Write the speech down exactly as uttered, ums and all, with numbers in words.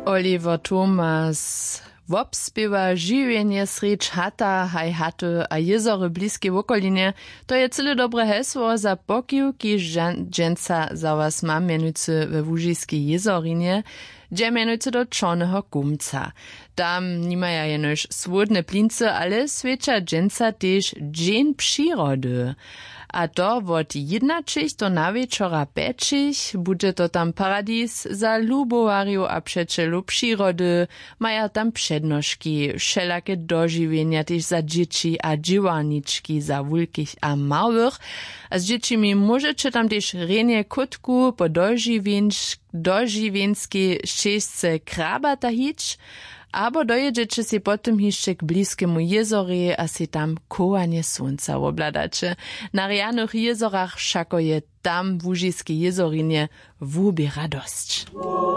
Oliver Thomas wobspěwa žiwjenje srjedź hata haj haty a jězory w bliskej wokolinje. To je cyle dobre hesło za pokiwki. Dźensa za was mam mjenujcy we łužiskej jězorinje, dźe mjenujcy do čorneho kumca. Tam nimaja jenož słódne plincy, ale swjeća dźensa tež dźeń přirody. A to wot jědnaćich do nawječora pjećich budźe to tam paradis za lubowarjow a přećelow přirody. Maja tam přednoški, wšelake dožiwjenja tež za dźěći a dźěłarnički za wulkich a małych. A z dźěćimi móžeće tam tež rjenje kótku po dožiwjenčk dožiwjenskej šćežce krabata hić, abo dojědźeće sej potom hišće k bliskemu jězorje a sej tam chowanje słónca wobhladaće. Na rjanych jězorach wšako je tam w łužiskej jězorinje wuběra dosć.